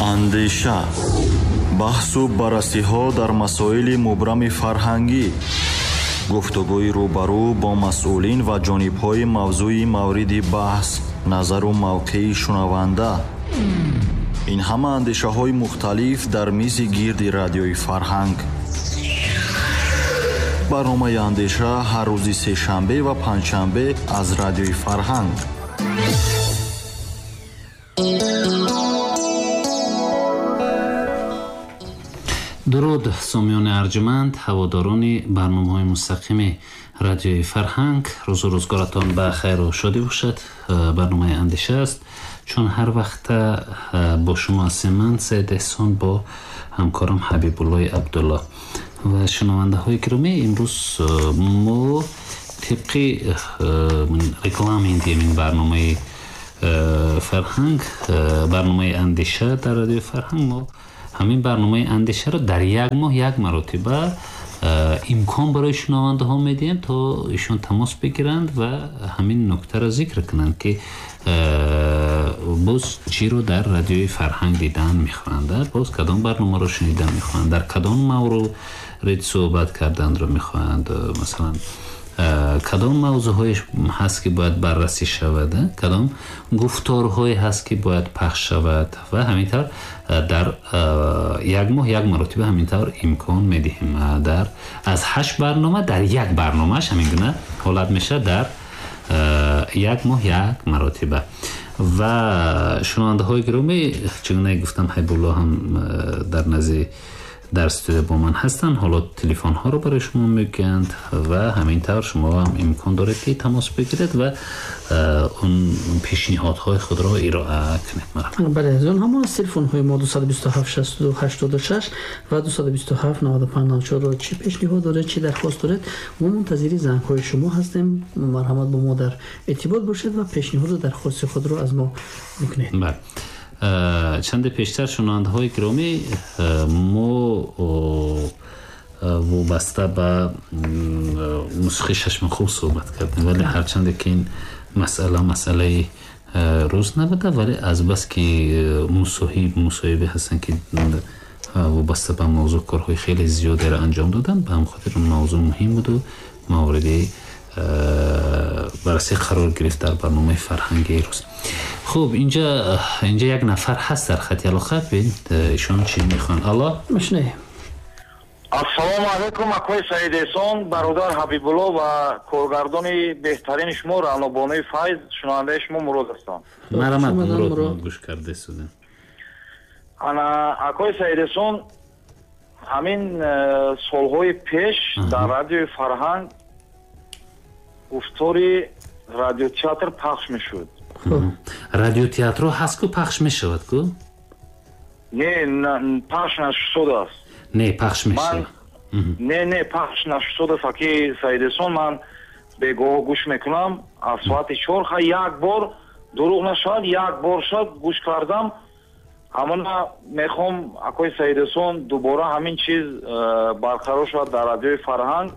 Андеша, баҳсу баррасиҳо дар масоили мубрами фарҳангӣ, гуфтугӯи рӯбарӯ бо масъулин ва ҷонибҳои мавзӯи мавриди баҳс, назару мавқеи шунаванда. Ин ҳама андешаҳои мухталиф дар мизи гирди Радиои Фарҳанг. Барномаи Андеша ҳар рӯзи сешанбе ва панҷшанбе аз Радиои Фарҳанг. Дуруд, сомиёни арҷманд, ҳаводорони барномаҳои мустақими Радиои Фарҳанг. Рӯзу рӯзгоратон ба хайру шодӣ бошад. Барномаи Андеша аст. Чун ҳар вақта бо шумо ҳастем ман, Саид Эҳсон, бо ҳамкорам Ҳабибуллои Абдулло. Ва шунавандаҳои гиромӣ, имрӯз мо тибқи регламенти ин барномаи Фарҳанг, барномаи Андеша дар Радиои Фарҳанг, мо ҳамин барномаи Андешаро дар як моҳ як маротиба имкон барои шунавандаҳо медиҳем, то ишон тамос бигиранд ва ҳамин нуктаро зикр кунанд, ки боз чиро дар Радиои Фарҳанг дидан мехоҳанд, боз кадом барномаро шунидан мехоҳанд, дар кадом маврид суҳбат карданро мехоҳанд, масалан кадом мавзӯъҳое ҳаст, ки бояд баррасӣ шавад, кадом гуфторҳое ҳаст, ки бояд пахш шавад ва ҳамин тавр дар як моҳ як маротиба ҳамин тавр имкон медиҳем. Дар аз 8 барнома дар як барномааш ҳамин гуна ҳолат мешавад, дар як моҳ як маротиба. Ва шунавандаҳои гиромӣ, чунон гуфтам, Ҳабибулло ҳам дар назди дар студия бо ман ҳастанд. Ҳоло телефонҳоро барои шумо мегӯянд ва ҳамин тавр шумо ҳам имкон доред, ки тамос бигиред ва он пешниҳодҳои худро ироа кунед. Бале, аз он ҳамон телефонҳои мо 227 62 86 ва 227 95 94 чӣ пешниҳод доред, чӣ дархост доред, мо мунтазири зангҳои шумо ҳастем. Марҳамат, бо мо дар иртибот бошед ва пешниҳоду дархости худро аз мо бикунед. Бале. Чанде пештар, шунавандаҳои гиромӣ, мо вобаста ба мусиқии Шашмақом суҳбат кардем, вале ҳарчанде ки ин масъала масъалаи рӯз набуда, вале азбас ки мусоҳибе ҳастанд, ки вобаста ба мавзӯъ корҳои хеле зиёдеро анҷом доданд, ба ҳамин хотир мавзӯъ муҳим буду мавриди баррасӣ қарор гирифт дар барномаи фарҳанги рӯз. Хуб, инҷа як нафар ҳаст дар хати алоқа. Бибинед, ишон чӣ мехоҳанд. Алло, мешунавем. Ассалому алайкум, акои Саид Эҳсон, бародар Ҳабибулло ва коргардони беҳтарини шумо Раънобонуи Файз, шунавандаи шумо Мурод ҳастам. Марҳамат, Мурод, гӯш карда истодем. Ана, акои Саид Эҳсон, ҳамин солҳои пеш дар Радиои Фарҳанг гуфтори радиотеатр пахш мешуд. Радиотеатро ҳаст ку, пахш мешавад ку? Не, пахш нашудааст. Не, пахш мешавад. Не, пахш нашудааст, аки Саид Эҳсон. Ман бегоҳ гӯш мекунам аз соати 4. Ха, як бор, дурӯғ нашавад, як бор шуд гӯш кардам. Ҳамона мехоҳам, акои Саид Эҳсон, дубора ҳамин чиз барқарор шавад дар Радиои Фарҳанг.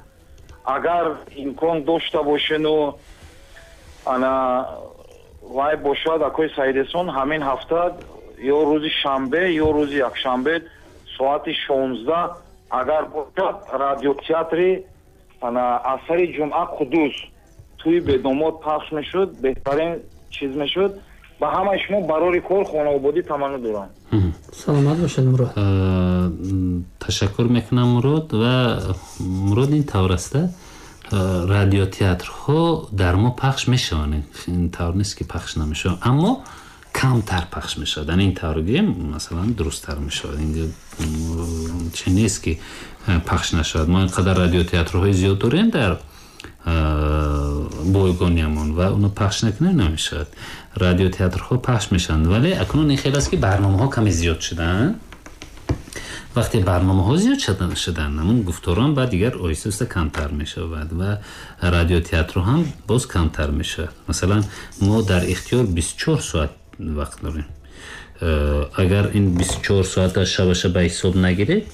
Агар имкон дошта бошену ана вай бошад, акои Саид Эҳсон, ҳамин ҳафта ё рӯзи шанбе ё рӯзи якшанбе соати 16 агар бошад, радиотеатри ана асари Ҷумъа Қуддус тӯи бедомод пахш мешуд, беҳтарин чиз мешуд. Ба ҳамаи шумо барори кор, хонаободӣ таманно дорам. Саломат бошед, Мурод. Ташаккур мекунам, Мурод. Ва Мурод, ин тавр аст, радиотеатрҳо дар мо пахш мешаванд, ин тавр нест, ки пахш намешаванд, аммо камтар пахш мешавад. Ин тавр гӯем, масалан, дурусттар мешавад. Ин чи нест, ки пахш нашавад. Мо ин қадар радиотеатрҳои зиёд дорем дар бойгониямон ва оно пахш накунем намешавад. Радиотеатрҳо пахш мешаванд, вале акнун ин хел аст, ки барномаҳо каме зиёд шуданд. Вақте барномаҳо зиёд шуданд, ҳамон гуфторон ба дигар оҳиста оҳиста камтар мешавад ва радиотеатрҳо ҳам боз камтар мешавад. Масалан, мо дар ихтиёр 24 соат вақт дорем. Агар ин 24 соата шабаша ба ҳисоб нагиред,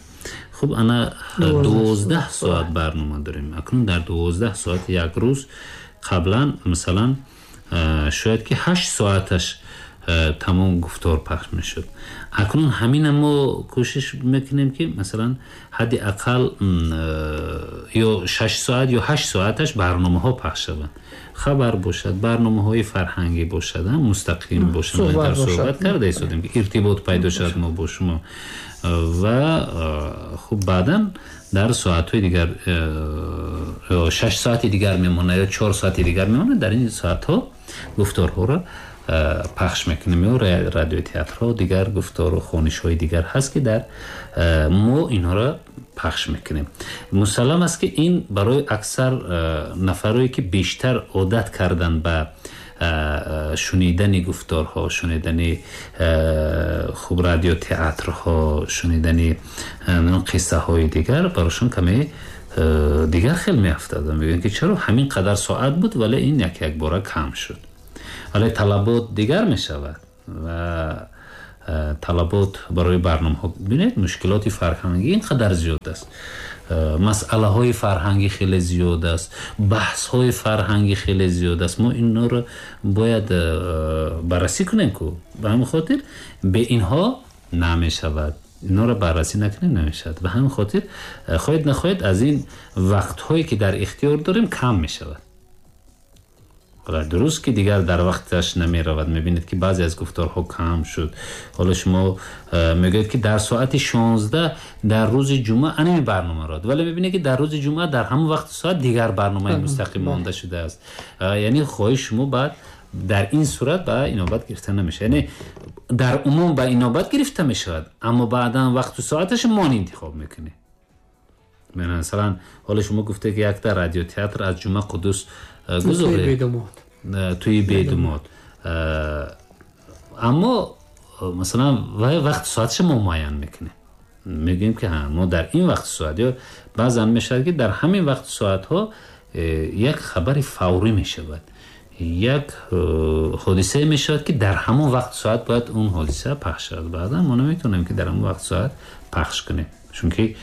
хуб, ана 12 соат барнома дорем. Акнун дар 12 соат як рӯз қаблан, масалан, шояд ки 8 соаташ Тамом гуфтор пахш мешуд. Акнун ҳамина мо кӯшиш мекунем, ки масалан ҳадди ақал ё 6 соат ё 8 соаташ барномаҳо пахш шаванд, хабар бошад, барномаҳои фарҳангӣ бошад, мустақим бошад. Дар суҳбат карда истодем, ки иртибот пайдо шавад мо бо шумо. Ва хуб, баъдан дар соатҳои дигар, 6 соати дигар мемонад ё 4 соати дигар мемонад, дар ин соатҳо гуфторҳоро пахш мекунем ё радиотеатрҳо, дигар гуфтору хонишҳои дигар ҳаст, ки дар мо инҳоро пахш мекунем. Мусаллам аст, ки ин барои аксар нафарое, ки бештар одат кардан ба шунидани гуфторҳо, шунидани хуб радиотеатрҳо, шунидани қиссаҳои дигар, барошон каме дигар хел меафтад. Мегӯянд, ки чаро ҳамин қадар соат буд, вале ин як якбора кам шуд. Вале талабот дигар мешавад ва талабот барои барномаҳо, бинед, мушкилоти фарҳангӣ ин қадар зиёд аст, масъалаҳои фарҳангӣ хеле зиёд аст, баҳсҳои фарҳангӣ хеле зиёд аст. Мо инҳоро бояд баррасӣ кунем ку. Ба ҳамин хотир бе инҳо намешавад, инҳоро баррасӣ накунем, намешавад. Ба ҳамин хотир, хоҳед нахоҳед, аз ин вақтҳое, ки дар ихтиёр дорем, кам мешавад. Дуруст, ки дигар дар вақташ намеравад. Мебинед, ки баъзе аз гуфторҳо кам шуд. Ҳоло шумо мегӯед, ки дар соати 16 дар рӯзи ҷумъа анами барнома род, вале мебинед, ки дар рӯзи ҷумъа дар ҳамон вақту соат дигар барномаи мустақим монда шудааст. Яъне хоҳиши шумо баъд дар ин сурат ба инобат гирифта намешавад. Яъне дар умум ба инобат гирифта мешавад, аммо баъдан вақту соаташ мо интихоб мекунем. Масалан, ҳоло шумо гуфте, ки якта радиотеатр аз Ҷумъа Қуддус гузоред, туи бедумод, аммо масалан вай вақт соатша мо муайян мекунем, мегӯем, ки мо дар ин вақту соат, ё баъзан мешавад, ки дар ҳамин вақту соатҳо як хабари фаврӣ мешавад, як ҳодисае мешавад, ки дар ҳамон вақту соат бояд он ҳодиса пахш шавад. Баъдан мо наметавонем, ки дар ҳамон вақту соат пахш кунем, чунки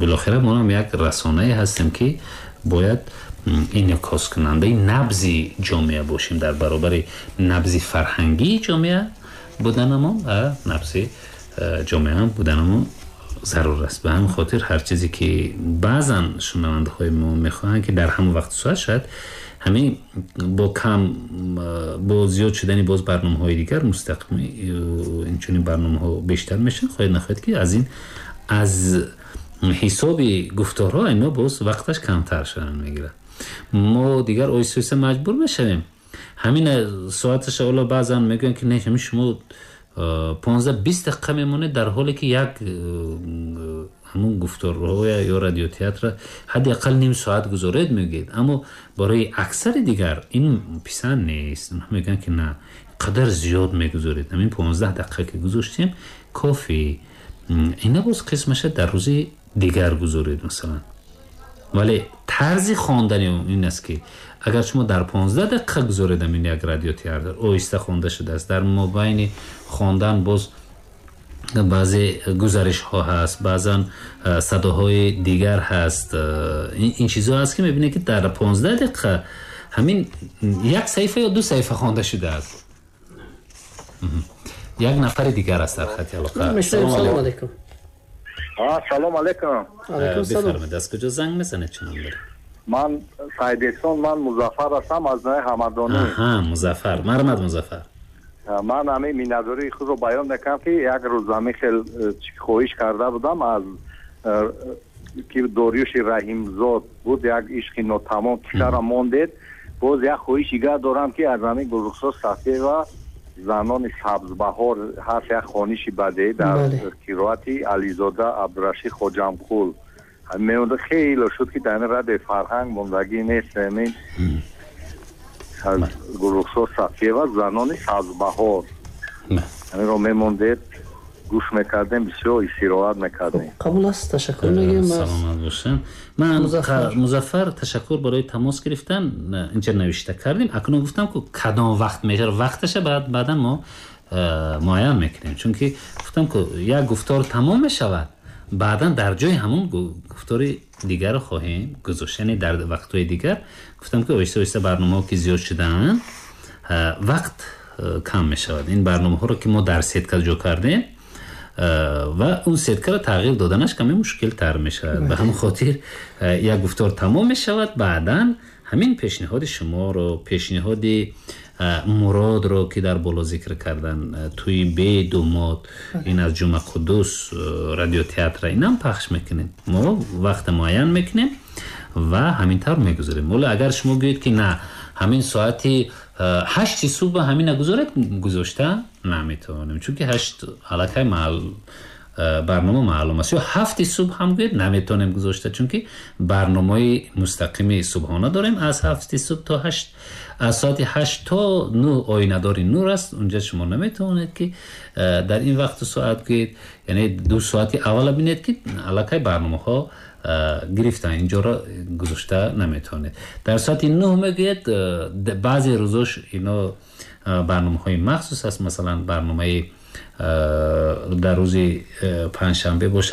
билохира мо ҳам як расонае ҳастем, ки бояд инъикоскунандаи набзи ҷомеа бошем. Дар баробари набзи фарҳангии ҷомеа буданамон ва набзи ҷомеа буданамон зарур аст. Ба ҳамин хотир ҳар чизе, ки баъзан шунавандаҳои мо мехоҳанд, ки дар ҳамон вақту соат, шояд ҳамин бо кам, бо зиёд шудани боз барномаҳои дигар мустақим, инчунин барномаҳо бештар мешаванд, хоҳед нахоҳед, ки аз ин аз ҳисоби гуфторҳо ино боз вақташ камтар шудан мегирад. Мо дигар оҳиста оҳиста маҷбур мешавем ҳамин соаташа. Ҳоло баъзан мегӯянд, ки не, ҳамин шумо 15-20 дақиқа мемонед, дар ҳоле ки як ҳамун гуфторҳоя ё радиотеатра ҳадди ақал ним соат гузоред, мегӯед. Аммо барои аксари дигар ин писанд нест. Онҳо мегӯянд, ки на қадар зиёд мегузоред, ҳамин 15 дақиқа ки гузоштем, кофӣ, ина боз қисмаша дар рӯзи дигар гузоред, масалан. Вале тарзи хондани ин аст, ки агар шумо дар 15 дақиқа гузоред, ин як радиотеатр оҳиста хонда шудааст, дар мобайни хондан боз баъзе гузаришҳо ҳаст, баъзан садоҳои дигар ҳаст, ин чизҳо ҳаст, ки мебинед, ки дар 15 дақиқа ҳамин як саҳифа ё ду саҳифа хонда шудааст. Як нафари дигар аст дар хати алоқа. Салом алейкум. Салом алейкум. Бифармоед, аз куҷо занг мезанед, чӣ ном доред? Ман Саидесон, ман Музаффар ҳастам аз ноҳияи Ҳамадонӣ. Аҳа, Музаффар, марҳамат, Музаффар. Ман ҳамин миннатдории худро баён мекунам, ки як рӯз ҳамин хел хоҳиш карда будам, аз ки Дориюши Раҳимзод буд, як ишқи нотамом кишара мондед. Боз як хоҳиш дигар дорам, ки аз ҳамин Гулрухсор Сафиева занони сабзбаҳор ҳаст, як хониши бадеӣ дар қироати Ализода Абдурашид Хоҷамқул меонда. Хеле шуд, ки дар ин радиои Фарҳанг мондагӣ нест. Ҳамин аз Гулрухсор Сафиева занони сабзбаҳор, ҳаминро мемондед, гӯш мекардем, бисёр истироҳат мекардем. Қабул аст, ташаккур мегӯем. Саломат бошем. Ман Музаффар, ташаккур барои тамос гирифтан. Инҷа навишта кардем. Акнун гуфтам, ку кадом вақт мешавад, вақташа баъдан мо муайян мекунем, чунки гуфтам, ку як гуфтор тамом мешавад, баъдан дар ҷои ҳамон гуфтори дигарро хоҳем гузошт. Яъне дар вақтҳои дигар, гуфтам, ки оҳиста оҳиста барномаҳо ки зиёд шудаанд. Вақт кам мешавад. Ин барномаҳоро ки мо дар сетка ҷо кардем ва он сеткаро тағйир доданаш каме мушкилтар мешавад. Ба ҳамин хотир як гуфтор тамом мешавад, баъдан ҳамин пешниҳоди шуморо, пешниҳоди Муродро, ки дар боло зикр кардан, тӯи бедумод, ин аз Ҷума Қуддус радиотеатра, инам пахш мекунем. Мо вақта муайян мекунем ва ҳамин тавр мегузорем. Вале агар шумо гӯед, ки на, ҳамин соати 8-и субҳ ҳамина гузоред, гузошта наметавонем, чунки 8 аллакай барнома маълум аст. Ё 7-и субҳ ҳам гӯед, наметавонем гузошта, чунки барномаи мустақими субҳона дорем аз 7-и субҳ то 8, аз соати 8 то 9 оинадори нур аст. Унҷа шумо наметавонед, ки дар ин вақту соат гӯед. Яъне 2 соати аввала бинед, ки аллакай барномаҳо гирифтан, инҷоро гузошта наметавонед. Дар соати 9 мегӯед, баъзе рӯзош ино барномаҳои махсус аст, масалан, барномаи дар рӯзи панҷшанбе бошад.